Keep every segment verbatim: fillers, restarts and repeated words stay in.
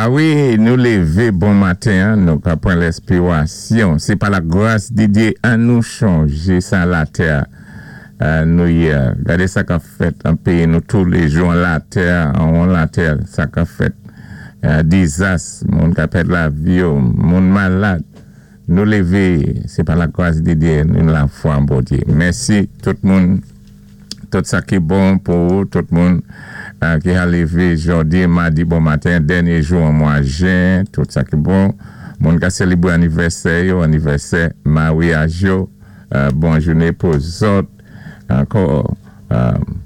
A wi, nou lévé bon maten, en, nou ka pran lenspirasyon. Sé pa la gras di Dye an nou chanjé sa latè euh, nou yé. Gadé sa ka fèt an péyi nou touléjou an latè, an latè, sa ka fèt. Euh, dizas, moun ka pèd lavi yo, moun malad. Nou lévé, sé pa la gras di Dye, nou lafwa an Bondye. Mèsi tout moun, tout sa ki bon pou tout moun euh, ki a lévé jòdi, madi bon maten, dènyé jou an mwa jen, tout sa ki bon. Moun ka sélébwé anivèsè yo, anivèsè maryaj yo, euh, bon jouné pou zòt. Ankò, euh,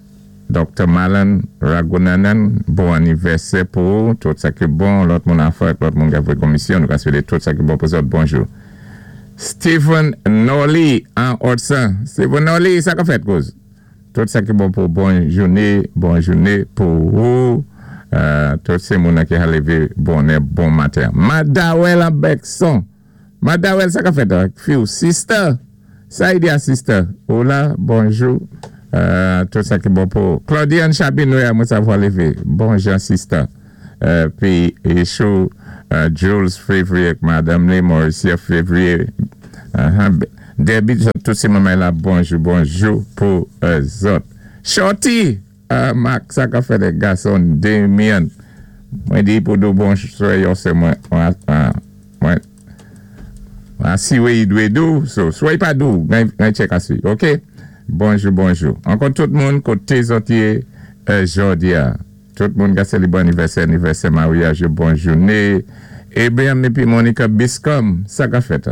Doktè Malan Ragunanan, bon anivèsè pou ou, tout sa ki bon, lòt moun an fè, lòt moun ki a fè komisyon, nou ka swété tout sa ki bon pou zòt, bonjou. Stephen Nolly an Hudson. Stephen Nolly, sa ka fèt kouz? Tout sa ki bon pou bon jouné, bon jouné pou ou. Euh, tout sé moun ki a lévé bonè, bon maten. Madawel an Bekson. Madawel, sa ka fèt? Fiw, sister. Sa y di a sister. Hola, bonjou. Euh, tout sa ki bon pou Claudiane Chabinoy, mwen savwa lévé. Bonjou, sister. Euh, pi, Echou, euh, Jules Février, Madame Lee Mauricia Février. Uh-huh. Debbie, tout sé manmay la, bonjou, bonjou pou euh, zòt. Shorty, euh, Marc, sa ka fèt gason Damien. Mwen di pou dou bonjou, yo sé mwen, mwen, mwen, asiwé yi dwé dou, so, swa yi pa dou, mwen check aswi, ok? Bonjou, bonjou. Ankò tout moun koté zòt yé euh, jòdi a. Tout moun ka sélébwé anivèsè, anivèsè maryaj, bon jouné. Abraham épi Monica Biscom, sa ka fèt.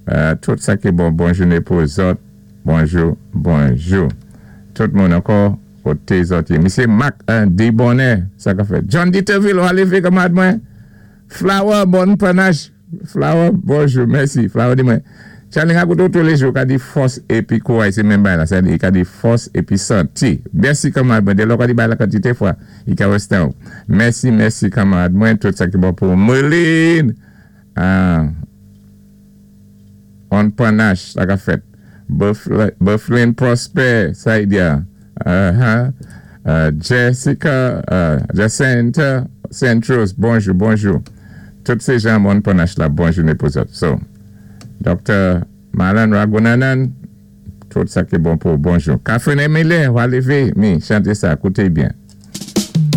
Euh, tout sa ki bon, bon jouné pou zòt. Bonjou, bonjou. Tout moun ankò, koté zòt yé. Misyé Marc euh, Dibonnet, sa ka fèt. John Dieterville, ou a lévé kanmarad mwen. Flower, bon panache. Flower, bonjou, mèsi. Flower di mwen. Charlie, a koute touléjou, ka di fòs épi kouray, sé menm bay la. Sa di, ka di fòs épi santi. Mèsi kanmarad mwen. Dè lò ka di bay la kantité fwa, i ka westè ou. Mèsi, mèsi kanmarad mwen. Tout sa ki bon pou Merlin. Ah. On panache, sa ka fèt. Bufflin Prosper, sa y di a. Uh-huh. Uh, Jessica, uh, Jacinta Centros, bonjou, bonjou. Tout sé jan moun panache la, bonjou pou zòt. So, Doktè Malan Ragunanan, tout sa ki bon pou bonjou. Catherine Emile, ou a lévé, mi, chanté sa, kouté byen.